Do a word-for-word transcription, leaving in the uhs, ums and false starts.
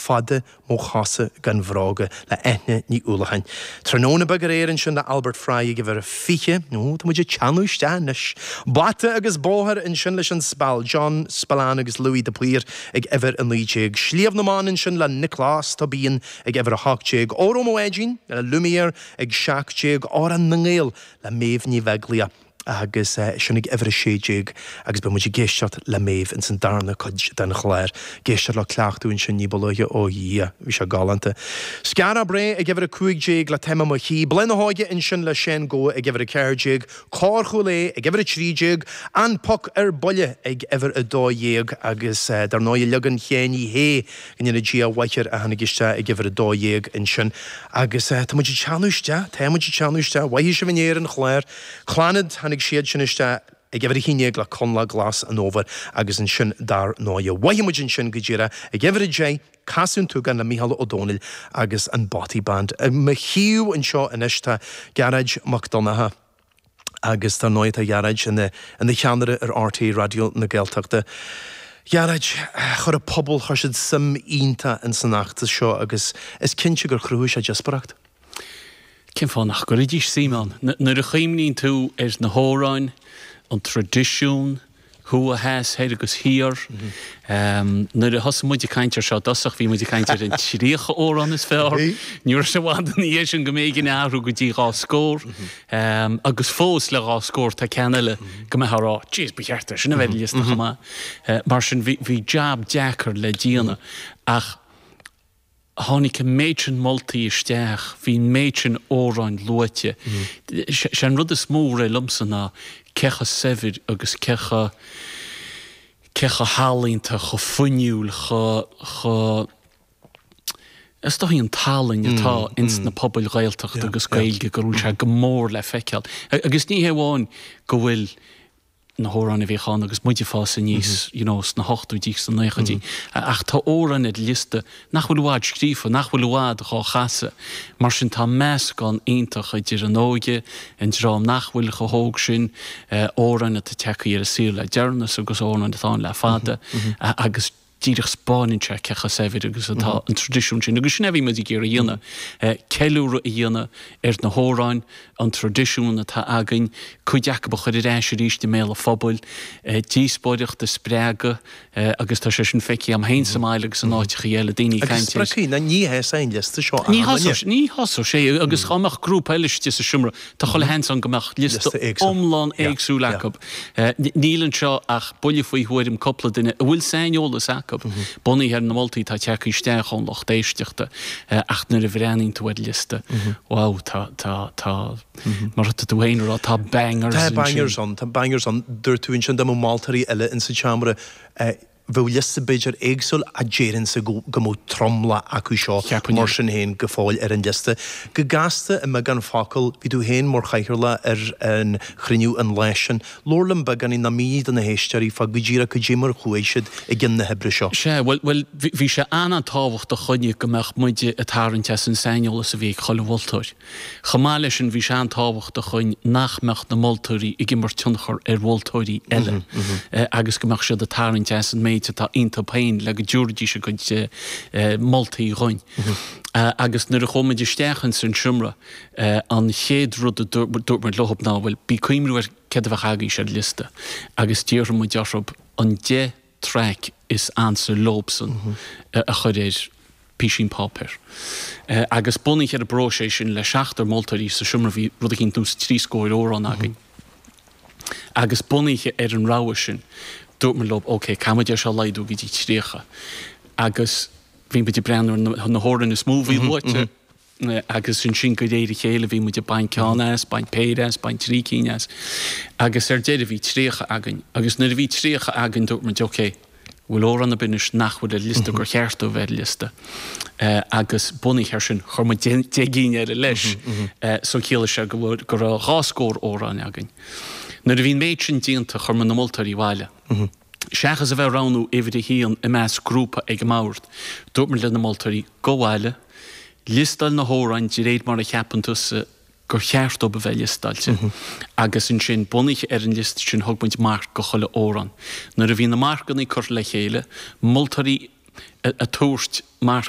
Fada Mo Chosa Gan Bhróga le Eithne Ní Uallacháin. Tráthnóna beag aréir ansin le Albert Fry ag uimhir a fiche, nó tá muid ag teannadh isteach anois. Bata agus Bóthar ansin leis an Spal, John Spillane agus Louis de Paor ag uimhir a naoi déag. Sliabh na mBan ansin le Nioclás Tóibín ag uimhir a hocht déag. Óró Mo Bháidín le Lumière ag seacht déag. Amhrán na nGael le Méabh Ní Bheaglaoich agus sin ag uimhir a sé déag agus beidh muid ag éisteacht le Méabh ins an darna cuid den chlár. Ag éisteacht le cleachtadh ansin ní ba luaithe ó Dhia, bhí sé galánta. Skara Brae ag uimhir a cúig déag le Táim i Mo Shuí, Bláth na hÓige ansin le Shane Goa ag uimhir a ceathair déag, Cór Chúil Aodha ag uimhir a trí déag, An Poc ar Buile ag uimhir a dó dhéag agus dar ndóigh leagan Sheáin Uí Shé go ndéana Dia a mhaith air a tháinig isteach ag uimhir a dó dhéag ansin agus tá muid ag teannadh isteach, tá muid ag teannadh isteach, mhaith sibh in Éirinn chlár. Clannad tháinig siad sin isteach ag uimhir a haon déag le Connla Glas an Fhómhair agus ansin dar ndóigh. Mhaith muid ansin go díreach ag uimhir a deich Casadh an tSúgáin le Mícheál Ó Domhnaill agus an Bothy Band. I mo thaobh anseo anois tá Gearóid Mac Donncha agus dar ndóigh tá Gearóid ina ina cheannaire ar RTÉ Raidió na Gaeltachta. Gearóid, chuir an pobal chuir siad suim iontach in san fheachtas seo agus is cinnte gur chruthaigh sé díospóireacht. Cén fáth nach gcuirfidís suim ann? Nuair a chuimhníonn tú ar na hamhráin, an traidisiún, thuaidh, theas, thoir agus thiar. Nuair a thosaigh muid ag caint ar seo i dtosach, bhí muid ag caint ar an tríocha amhrán is fearr. Ní raibh sé i bhfad ina dhiaidh sin go mb'éigean athrú go dtí dhá scór. Agus fós le dhá scór tá ceann eile go mbeifeá ag rá, jeez, ba cheart é sin a bheith ar an liosta chomh maith. Mar sin bhí bhí jab deacair le déanamh. Ach tháinig an méid sin moltaí isteach, bhí an méid sin amhráin luaite. Sé an rud is mó a rith liomsa ná cé chomh saibhir agus cé chomh cé chomh healaíonta, chomh fuinniúil, chomh chomh is dóigh an tallann atá ins na pobail Ghaeltachta agus Gaeilge go bhfuil sé go mór le feiceáil. Agus ní hé amháin go bhfuil na hamhráin a bhíodh ann agus muid ag fás aníos you know sna hochtóidí sna naochaidí ach tá amhráin ar liosta nach bhfuil i bhfad scríofa, nach bhfuil i bhfad dhá chasadh. Mar sin tá meascán iontach idir an óige, an dream nach bhfuil chomh hóg sin, amhráin atá tagtha ar an saol le deireanas agus amhráin atá ann le fada agus díreach 'spáineann sé cé chomh saibhir agus atá an traidisiún sin. Agus sin é a bhí muid ag iarraidh a dhéanamh, ceiliúradh a dhéanamh ar na hamhráin, an traidisiún atá againn, cuid acu a chur ar ais arís i mbéal an phobail, díospóireacht a spreagadh agus tá sé sin feicthe agam féin sa mbaile agus in áiteacha eile, daoine ag caint ar. Agus spreagfaidh, ní hé an liosta seo Ní thosódh, ní thosódh sé agus dhá mbeadh grúpa eile istigh sa seomra, tá chuile sheans ann go mbeadh liosta iomlán éagsúil acu. Níl anseo ach buille faoi thuairim cúpla duine a bhfuil saineolas acu, bunaithe ar na moltaí atá tagtha isteach ón lucht éisteachta, ach nuair a bhreathnaíonn tú ar an liosta, wow, tá, tá, tá, mar atá tú féin a rá, tá bangers ansin. Tá bangers ann, tá bangers ann. Dúirt tú ansin dá mbeadh moltóirí eile insa tseomra, Bheadh liosta b'fhéidir éagsúil ach déarfainnse go mbeadh tromlach acu seo mar sin féin go fóill ar an liosta. Go gasta i mbeagán focal, bhí tú féin mar chathaoirleach ar an chruinniú an lá sin. Labhair liom beagáinín nó mínigh do na héisteoirí fá go díreach cad é mar a chuaigh siad i gcionn na hoibre seo. Sea, bhuel, bhuel, bhí sé an-an-tábhachtach dhúinne go mbeadh muide ag tarraingt as an saineolas a bhí ag chuile mholtóir. Chomh maith leis sin, bhí sé an-tábhachtach dhúinn nach mbeadh na moltóirí ag imirt tionchar ar mholtóirí eile agus go mbeadh siad ag tarraingt as an méid atá iontu féin le go dtabharfaidís a gcuid moltaí dhúinn. Agus nuair a chuaigh muid isteach ins an seomra, an chéad rud a dúirt muid leothab ná, bhuel, bí ag cuimhniú ar céard a bheadh agaibhse ar liosta agus d'iarr muid orthu an deich traic is ansa leobsan a chur ar písín páipéir. Agus bunaithe ar an bpróiseas sin le seachtar moltóirí sa seomra bhí rud eicínt nós trí scór amhrán againn. Agus bunaithe ar an rogha sin dúirt muid leo ok caithfidh muid é seo a laghdú go dtí tríocha. Agus bhí muid ag breathnú ar na hamhráin is mó a bhí luaite. Agus ansin de réir a chéile bhí muid ag baint ceann as, baint péire as, baint trí cinn as. Agus ar deireadh bhí tríocha againn. Agus nuair a bhí tríocha againn dúirt muid ok, bhfuil amhrán ar bith anois nach bhfuil ar liosta gur cheart dó bheith ar liosta. Agus bunaithe air sin chuir muid deich gcinn eile leis. So chiallaigh sé go bhfuil, go raibh dhá scór amhrán againn. Nuair a bhí an méid sin déanta chuir muid na moltóirí abhaile. Seachas a bheith ag roghnú uimhir a haon i measc grúpa ag an mbord, dúirt muid le na moltóirí, gabh abhaile, liostáil na hamhráin de réir mar a cheapann tusa gur cheart dóibh a bheith liostáilte, agus ansin, bunaithe ar an liosta sin, thug muid marc go chuile amhrán. Nuair a bhí na marcanna curtha le chéile, moltóirí ag tabhairt marc,